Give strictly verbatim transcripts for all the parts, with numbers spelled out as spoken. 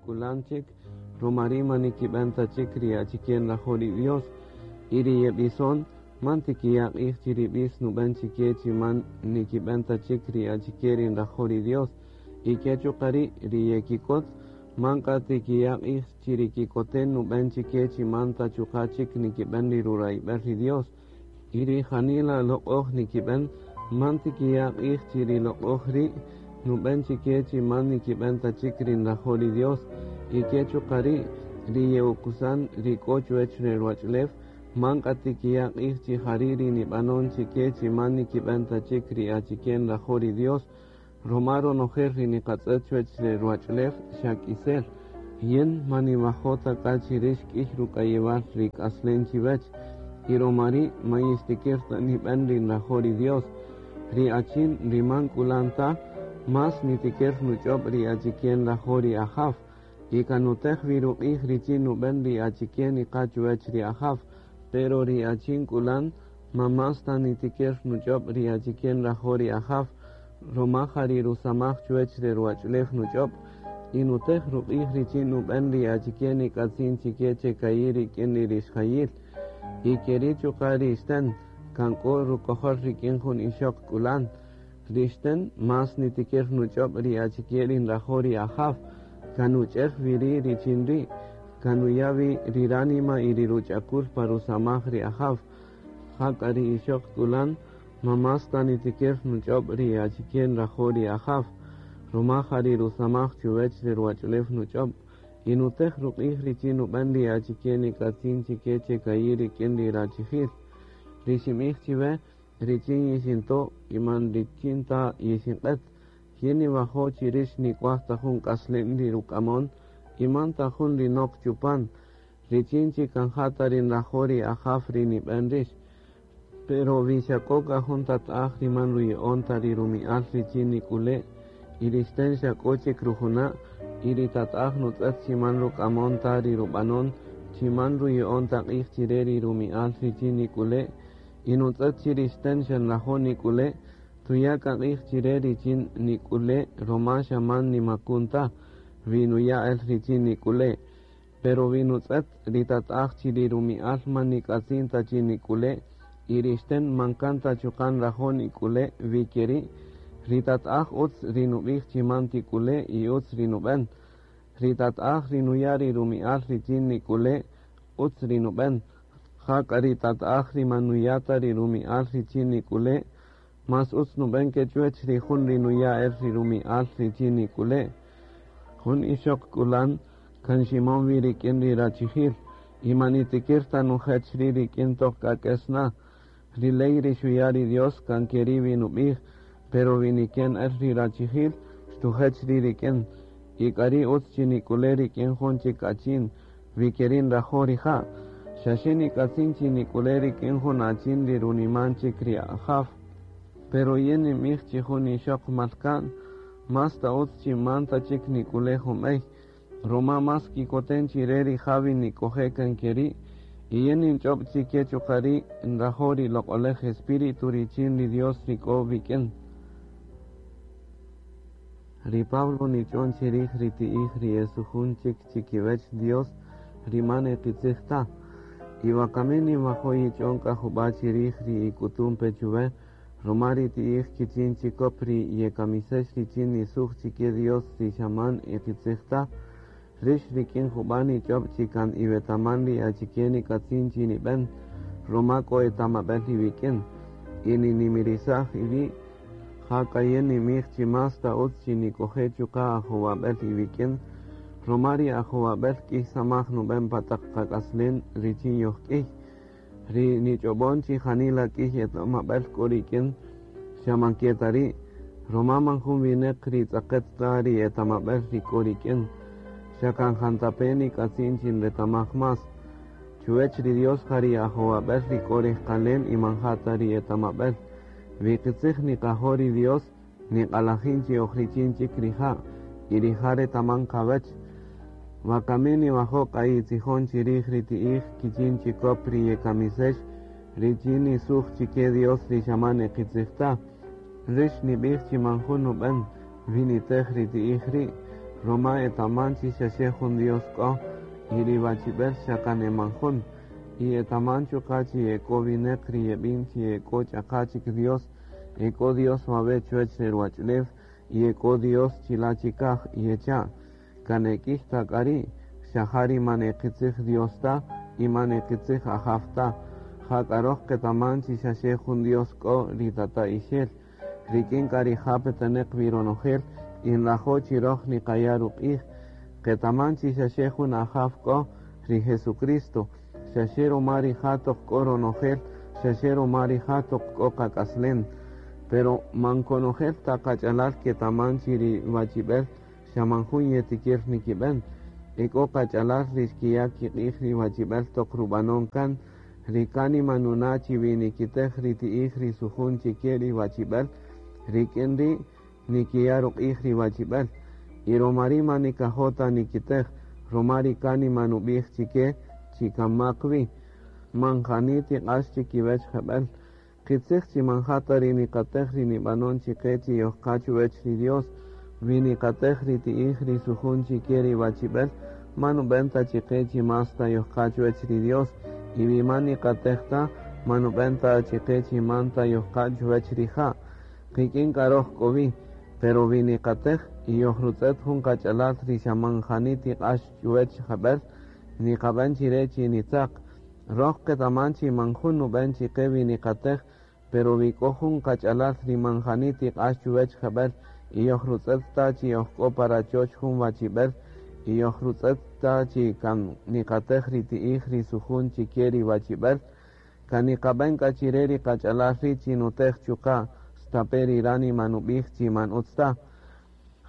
k'ulan chik, romari man nikib'en ta chik ri achike nrajo' ri Dios, y ri yeb'ison man tikiya' q'ij chi ri b'is nub'en chike chi man nikib'en ta chik ri achike ri nrajo' ri Dios, y ke chuqa' ri' ri yekikot man k'a tikiya' q'ij chi ri kikoten nub'en chike chi man ta chuqa' chik nikib'en ri rurayb'el ri Dios, y ri janila loq'oj nikib'en man tikiya' q'ij chi ri loq'oj ri' nub'en chike chi man nikib'en ta chik ri nrajo' ri Dios, y ke chuqa' ri' ri ye'ukusan ri k'o chuwech ri ruwach'ulew man k'a tikiya' q'ij chi jari' ri nib'anon chike chi man nikib'en ta chik ri achike nrajo' ri Dios, roma ronojel ri niqatz'et chuwech ri ruwach'ulew xa k'isel. Yin man niwajo' ta k'a chi rix k'ïy ruk'ayewal ri k'aslen chiwech, y roma ri' man yixtikir ta nib'en ri nrajo' ri Dios. Ri achin ri man k'ulan ta, mas nitikir nuch'ob' ri achike nrajo' ri Ajaw, y kan nutej wi ruq'ij richin nub'en ri achike niqa chuwech ri Ajaw, pero ri achin k'ulan man mas ta nitikir nuch'ob' ri achike nrajo' ri Ajaw, roma ja ri rusamaj chuwech ri ruwach'ulew nuch'ob', y nutej ruq'ij richin nub'en ri achike nik'atzin chike che ka'i' rik'in ri rixjayil, y keri' chuqa' ri ixten kan k'o rukojol rik'in jun ixöq k'ulan. Ri ixten mas nitikir nuch'ob' ri achike ri nrajo' ri Ajaw, kan nuch'er wi ri' richin ri', kan nuya' wi ri ránima y ri ruch'akul pa rusamaj ri Ajaw. Jak'a ri ixöq k'ulan man mas ta nitikir nuch'ob' ri achike nrajo' ri Ajaw, roma ja ri rusamaj chuwech ri ruwach'ulew nuch'ob', y nutej ruq'ij richin nub'en ri achike nik'atzin chike che ka'i' rik'in ri rachijil. Ri xinb'ij chiwe richin yixinto' y man richin ta yixinq'et, yin niwajo' chi rix nik'uaj ta jun k'aslen ri ruk'amon y man ta jun ri nok chupan, richin chi kan ja ta ri nrajo' ri Ajaw ri nib'en rix. Pero wi xa k'o k'a jun tata'aj ri man ruya'on ta ri rumi'al richin nik'ule', y ri ixten xa k'o chik rujuna', y ri tata'aj nutz'et chi man ruk'amon ta ri rub'anon, chi man ruya'on ta q'ij chire ri rumi'al richin nik'ule', y nutz'et chi ri ixten xa nrajo' nik'ule', tuya' k'a q'ij chire richin nik'ule' roma xa man nimakun ta, wi nuya' el richin nik'ule'. Pero wi nutz'et ri tata'aj chi ri rumi'al man nik'atzin ta chi nik'ule', y ri ixten man kan ta chuqa' nrajo' nik'ule' wi keri', ri tata'aj utz ri nub'ij chi man tik'ule' y utz ri nub'en. Ri tata'aj ri nuya' ri rumi'al richin nik'ule' utz ri nub'en. Jak'a ri tata'aj ri man nuya' ta ri rumi'al richin nik'ule', mas utz nub'en ke chuwech ri jun ri nuya' el ri rumi'al richin nik'ule'. Jun ixöq k'ulan kan ximon wi rik'in ri rachijil, y man nitikir ta nujech ri' rik'in toq k'a k'es na. Ri ley ri xuya' ri Dios kan keri' wi nub'ij, pero wi niken el ri rachijil, xtujech ri' rik'in, y k'a ri' utz chi nik'ule' rik'in jun chik achin, wi keri' nrajo' rija'. Xaxe nik'atzin chi nik'ule' rik'in jun achin ri runiman chik ri Ajaw. Pero yin ninb'ij chi jun ixöq malka'n, mas ta utz chi man ta chik nik'ule' jun b'ey, roma mas kikoten chire rija' wi nik'oje' kan keri', y yin ninch'ob' chike chuqa' ri' nrajo' ri loq'olej Espíritu richin ri Dios ri k'o wik'in. Ri Pablo nich'on chirij ri ti'ij ri esujun chik chikiwech Dios ri man e qitzij ta. Y wakami ninwajo' yich'on k'a jub'a' chirij ri ik'utun pe chuwe, roma ri ti'ij kichin chikop ri yekamisex richin nisuj chike Dios ri xa man e qitzij ta, rix rik'in jub'a' nich'ob' chi kan iwetaman ri achike nik'atzin chi nib'en, roma k'o etamab'el iwik'in, y ninimirisaj iwi', jak'a yin ninb'ij chi mas ta utz chi nik'oje' chuqa' ajowab'el iwik'in, roma ri ajowab'el k'ïy samaj nub'en pa taq qak'aslen richin yojk'ïy. Ri nich'ob'on chi janila k'ïy etamab'el k'o rik'in, xa man ke ta ri', roma man jun winäq ri tz'aqet ta ri etamab'el ri k'o rik'in, xa kan jantape' nik'atzin chi nretamaj mas. Chuwech ri Dios ja ri ajowab'el ri k'o rejqalen y man ja ta ri etamab'el. Wi qitzij niqajo' ri Dios, niq'alajin chi oj richin chik rija', y rija' retaman qawech. Wakami niwajo' k'a yitzijon chirij ri ti'ij kichin chikop ri yekamisex richin nisuj chike Dios ri xa man e qitzij ta. Rix nib'ij chi man jun nub'en wi nitej ri ti'ij ri', Roma etaman chi xaxe jun Dios k'o, y ri wachib'el xa kan e man jun. Y etaman chuqa' chi ek'o wineq ri yeb'in chi ek'o ch'aqa chik Dios, ek'o Dios wawe' chuwech re ruwach'ulew, y ek'o Dios chila' chikaj, yecha'. Kan ek'ij ta k'a ri', xa ja ri man e qitzij Dios ta, y man e qitzij Ajaw ta. Jak'a roj qetaman chi xaxe jun Dios k'o ri Tata'ixel, rik'in k'a rija' peteneq wi ronojel, y nrajo' chi roj niqaya' ruq'ij. Qetaman chi xaxe jun Ajaw k'o, ri Jesucristo, xaxe ruma rija' toq k'o ronojel, xaxe ruma rija' toq k'o qak'aslem. Pero man konojel ta qach'alal ketaman chi ri wachib'el xa man jun yetikir nikib'en. Ek'o qach'alal ri xkiya' kiq'ij ri wachib'el toq rub'anon kan, ri kánima nuna' chi wi nikitej ri ti'ij ri sujun chike ri wachib'el, rik'in ri' nikiya' ruq'ij ri wachib'el. Y ruma ri' man nikajo' ta nikitej, ruma ri kánima nub'ij chike chi kan mak wi. Man jani tiq'ax chikiwech jeb'el. Qitzij chi man ja ta ri niqatej ri nib'anon chiqe chi yojqa chuwech ri Dios, wi niqatej ri ti'ij ri sujun chike ri wachib'el, man nub'en ta chiqe chi mas ta yojqa chuwech ri Dios, y wi man niqatej ta, man nub'en ta chiqe chi man ta yojqa chuwech rija'. Qik'in k'a roj k'o wi, pero wi niqatej y yojrutz'et jun qach'alal ri xa man jani tiq'ax chuwech jeb'el, niqab'en chire chi nitzaq. Roj qetaman chi man jun nub'en chiqe wi niqatej, pero wi k'o jun qach'alal ri man jani tiq'ax chuwech jeb'el, y yojrutz'et ta chi yojk'o pa rachoch jun wachib'el, y yojrutz'et ta chi kan niqatej ri ti'ij ri sujun chike ri wachib'el, kan niqab'en k'a chire ri qach'alal ri' chi nutej chuqa', stape' ri ránima nub'ij chi man utz ta.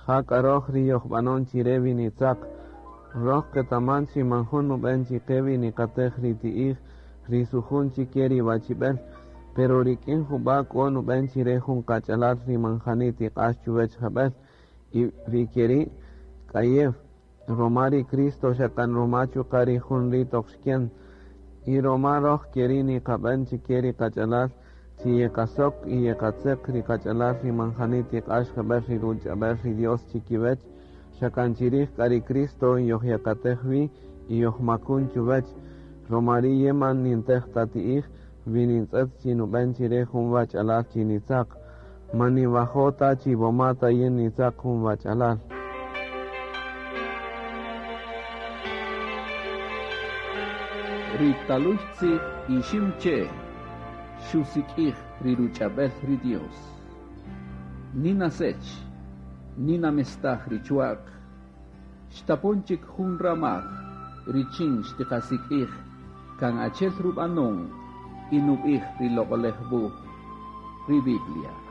Jak'a roj ri yojb'anon chire wi nitzaq. Roj qetaman chi man jun nub'en chiqe wi niqatej ri ti'ij ri sujun chike ri wachib'el, pero rik'in jub'a' k'o nub'en chire jun qach'alal ri man jani tiq'ax chuwech jeb'el, y wi keri' k'ayew, ruma ri Cristo xa kan ruma chuqa' ri jun ri' toq xken. Y ruma roj keri' niqab'en chike ri qach'alal chi yeqasok y yeqatzeq ri qach'alal ri man jani tiq'ax jeb'el ri ruch'ab'el ri Dios chikiwech, xa kan chirij k'a ri Cristo yojyakatej wi y yojmakun chuwech. Ruma ri' yin man nintej ta ti'ij, wi nintz'et chi nub'en chire jun wach'alal chi nitzaq. Man ninwajo' ta chi woma ta yin nitzaq jun wach'alal. Ri taluy tzij ixim che, xusik'ij ri ruch'ab'el ri Dios. Nina sech, nina mestaj ri chuaq, xtapon chik jun ramaj, richin xtiqasik'ij, kan achel rub'anon, y nub'ij ri loq'olej wuj, ri Biblia.